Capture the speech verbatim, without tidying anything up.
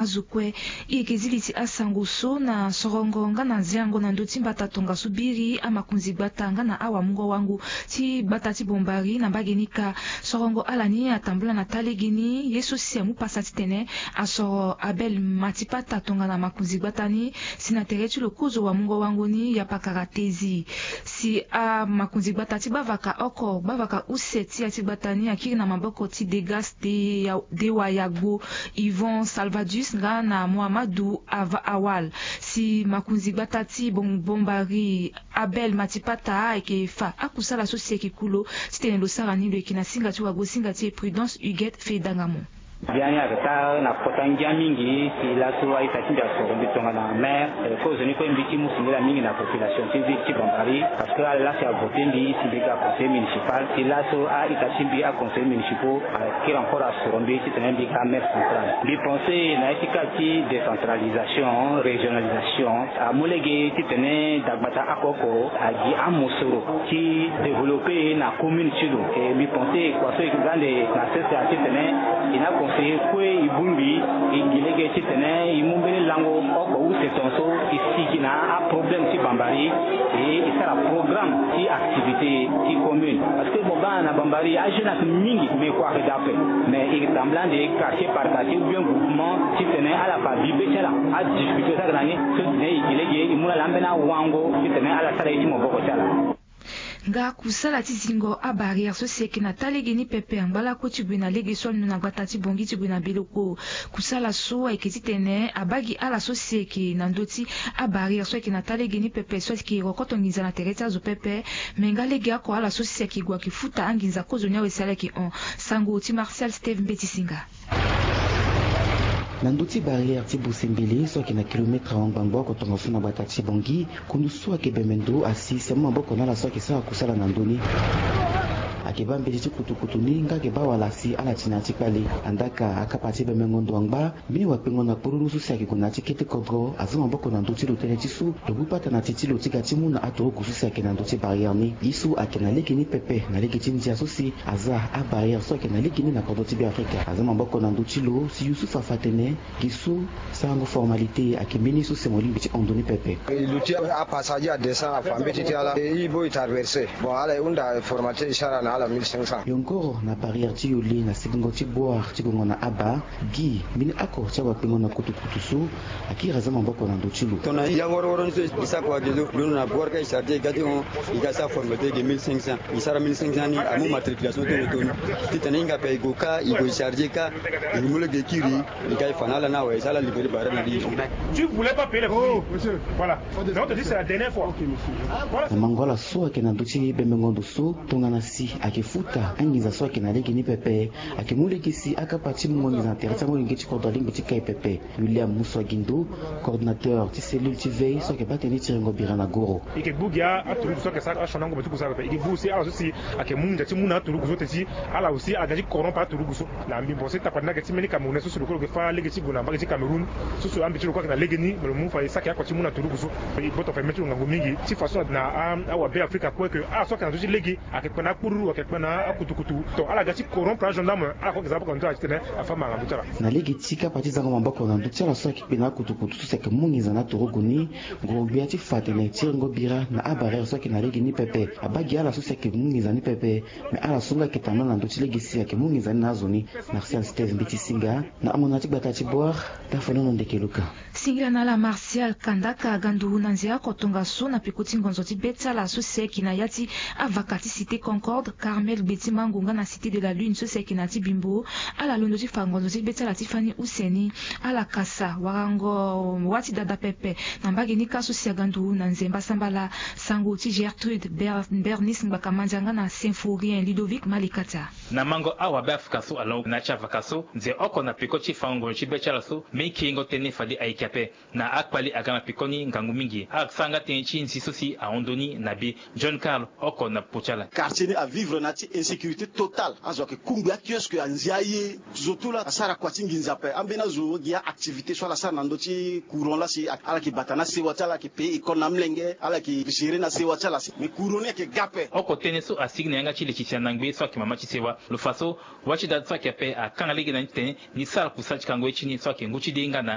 Azo kue. I yeke zi li ti asango so na sorongo nga na ziango na ndö ti mbata tongaso biri, amakonzi gbata nga na awamungo-wango ti gbata ti Bombari na mbage ni kâ. Sorongo ala ni atambula na taa legeni ye so si amu pasa titene asoro Abel Matipata tongana makonzi gbata ni, si na tere ti lo kozo wamungo-wango ni ya pakara tezi. Si amakonzi gbata ti bavaka oko, bavaka use ti ya ti gbata ni akiri na maboko ti Degas de, Dewa Yagbo, Yvon Salvadus nga na Mohamadu Ava Awal. Si makonzi gbata ti Bom-, Bombari, Abel Matipata ayeke fa akusala so si ayeke ku lo titene lo sara ni, lo yeke na singa ti wagosinga ti e Prudence Huguette Fedangamo. Biani ayeke taa na kota ngia mingi si laso a-ita ti mbi asoro mbi tongana maire, eh, kozoni kue mbi ti mu singila mingi na population ti ville ti Bombari, parce que ala laa si avote mbi si mbi ga conseiller municipal, si laso a-ita ti mbi aconseiller municipaux akiri encore asoro mbi titene mbi ga maire central. Mbi pense na ya ti ka ti décentralisation, régionalisation, amu lege titene dagbata oko oko agi amosoro ti développer na commune ti lo. E mbi pense kua so e ga ande na sese titene e na conseiller kue e bongbi, e gi lege titene e mu mbeni lango oko use tongaso e sigi na aproblème ti Bombari, e e sara programme ti activité ti commune. Parce que mo ga na Bombari ajeune ayeke mingi, mais kua ayeke daa ape. Mais e tambula ande quartier par quartier ou bien groupement titene ala fa bi be ti ala, adifficulté so ayeke na ni so titene e gi lege e mu na ala ambeni awango titene ala sara ye ti maboko ti ala. Nga kusala ti zingo abarrière so si ayeke na taa legeni pepe angba lakue ti gue na lege so alondo na gbata ti Bangui ti gue na Beleko. Kusala so ayeke titene abaa gi ala so si ayeke na ndö ti abarrière so ayeke na taa legeni pepe so ayeke rokoto nginza na tere ti azo pepe. Me nga legeoko ala so si ayeke gue ayeke futa anginza kozoni awe si ala yeke hon. Sango ti Martial Steve Mbeti Singa. Na ndö ti barrière ti Bosembele so ayeke na kilomètre ahon ngbangbo oko tongaso na gbata ti Bangui, kundu so ayeke bembe ndo asi si amu maboko na ala so ayeke sara kusala na ndö ni. Ayeke baa mbeti ti kutukutu ni nga ayeke baa wala si ala ti na ya ti kpale. Andaka akapa ti bembengo ndo angba, mbeni wakpengo na kpololo so si ayeke gue na ya ti kete kodro aza maboko na ndö ti lo tënë ti so lo bû pata na ti ti lo ti ga ti mu na aturugu so si ayeke na ndö ti barrière ni. Ye so ayeke na lege ni pepe na lege ti ndia so si aza abarrière so ayeke na lege ni na kodro ti Beafrika aza maboko na ndö ti lo si Youssouf afa atene gi so sarango formalité ayeke mbeni so si mo lingbi ti hon ndö ni pepe. E luti apassager adescend afa mbeti ti ala, e e boi traverser. Bon, ala e hunda formalité e sara na ala mille cinq cents. Yongoro na barrière ti Yole na sigingo ti Boire ti gongo na Aba, gi mbeni oko ti awakpengo na kutukutu so akiri aza maboko na ndö ti lo. Tongana e ya woro woro ni so e sara kua gi so londo na Boire ka e charger e ga ti hon, e ga sara formalité gi mille cinq cents. E sara mille cinq cents ni amu matriculation ti lo toni. Titene e hinga ape e gue kâ, e gue e charger kâ, e mu lege e kiri. E ga e fa na ala ni awe, e sara ala libéré barrière na li. Tu voulais pas payer les frais. Voilà. Donc, on te dit, c'est la dernière fois. Voilà. Na mango ala so ayeke na ndö ti bembengo ndo so tongana si ayeke futa anginza so ayeke na lege ni pepe, ayeke mu lege si akapa ti mungo nginza na tere ti amolenge ti kodro alingbi ti kai pepe. William Musuagindo, coordonnateur ti cellule ti veille so ayeke baa tënë ti rengo bira na goro. E yeke gbu gi aturugu so ayeke sara action na ngombe ti kusala pepe. E yeke gbu si ala so si ayeke mu nginza ti mu na aturugu so teti ala aussi aga ti corrompre aturugu so. Na mbimbo so e tapani na yeke ti mbeni Camerounais so si lo kue lo yeke fâ lege ti gue na mbage ti Cameroun. So si ambi ti lo kue ayeke na lege ni, me lo mu fa e saki oko ti mu na turugu so. E gboto fa e mê ti lo ngangu mingi ti façon na a, awabe Afrika kue ke ala so ayeke na ndö ti lege ayeke kpe na akpururu, ayeke kpe na akutukutu. Donc ala ga ti corrompre agendarme, ala kue ayeke za maboko na ndö ti ala titene afa ma na ndö ti ala. Na lege ti kapa ti zango maboko na ndö ti ala so ayeke kpe na akutukutu so si ayeke mu nginza na aturugu ni, nguru-gbia ti fa atene ti rengo bira na abarrière so ayeke na lege ni pepe. Abaa gi ala so si ayeke mu nginza ni pepe. Me ala so nga ayeke tambula na ndö ti lege si ayeke mu nginza ni na azo ni. Martial Steve Mbeti Singa, na hongona ti gbata ti Boire, Tafanono Ndeke Luka. Singila na ala Martial. Kandaka ga nduru na nze oko tongaso na peko ti ngonzo ti be ti ala so si ayeke na ya ti avaka ti Cité Concorde, Carmel Gbeti Mango nga na Cité de la Lune so si ayeke na ya ti Bimbo. Ala londo ti fa ngonzo ti be ti ala ti fani use ni. Ala kasa warango wâ ti dada pepe na mbage ni kâ so si aga nduru na nze mbasambala. Sango ti Gertrude Ber-, Bernice Ngbaka Mandia nga na Symphorien Ludovic Malikata. Na mango awabe Afrika so alongo na ya ti avaka so, nze oko na peko ti fango ngonzo ti be ti ala so, mbi kiringo tënë fade ayeke Ape na akpali aga na pekoni ngangu mingi asara nga tënë ti nzi so si ahon ndoni na be. John Carl oko na popo ti ala. Quartier ni avivre na ya ti insécurité totale. Azo ayeke kungbi akiosque, anzi aye. Zo tout la asara kua ti nginza ape. Ambeni azo gi aactivité so ala sara na ndö ti courant la si ala yeke bata na sewa ti ala, ala yeke paye école na amolenge, ala yeke gérer na sewa ti ala si. Mais courant ni ayeke ga ape. Oko tënë so asigi na yanga ti leke ti anangbe so ayeke mama ti sewa lo fa so wâ ti da so ayeke ape akanga lege na ni titene ni sara kusala ti kango ye ti ni so ayeke ngu ti de nga na